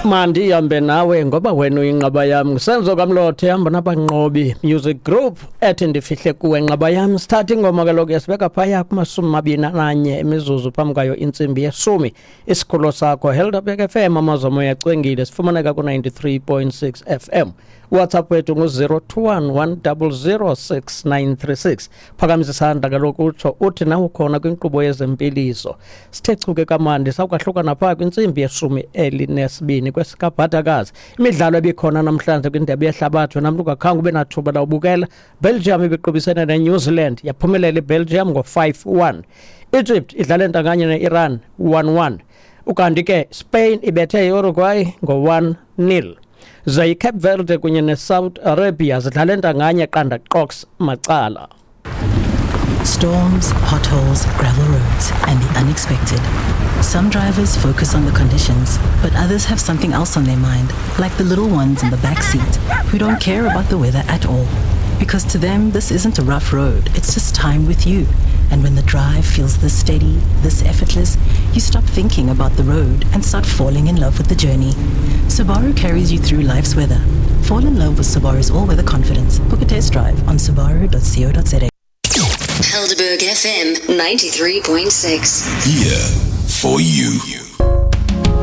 Mandihambe nawe ngoba wena uyinqaba yam. Ngusenzo Kamlothe hamba nabanqobi Music Group ethi ndifihle kuwe nqaba yam. Sithatha ingoma kaloku yasibeka phaya kuma-21 imizuzu phambi kwayo intsimbi yeshumi. Isikhululo sakho Helderberg FM, amazwi omoya acwengile, sifumaneka ku-93.6 FM. WhatsApp wethu ngu-021 100 6936. Phakamisa isandla kaloku utsho uthi nawe ukhona kwinkqubo yezempiliso. Sithe chuke kamandi sawukwahlukana phaa kwintsimbi ye-12 kwesikabhadakazi. Imidlalo ebikhona namhlanje kwindebe yehlabathi, wena mntu ungakhange ube nathuba lawubukela. Belgium ibiqubisene neNew Zealand, yaphumelela iBelgium ngo-5-1. Egypt idlale ntanganye ne-Iran 1-1. Ukanti ke Spain ibethe i-Uruguay ngo-1-0. Ze iCape Verde kunye neSouth Arabia zidlale ntanganye qanda qox macala. Storms, potholes, gravel roads, and the unexpected. Some drivers focus on the conditions, but others have something else on their mind, like the little ones in the back seat who don't care about the weather at all. Because to them, this isn't a rough road, it's just time with you. And when the drive feels this steady, this effortless, you stop thinking about the road and start falling in love with the journey. Subaru carries you through life's weather. Fall in love with Subaru's all weather confidence. Book a test drive on subaru.co.za. Helderberg FM 93.6. Here for you.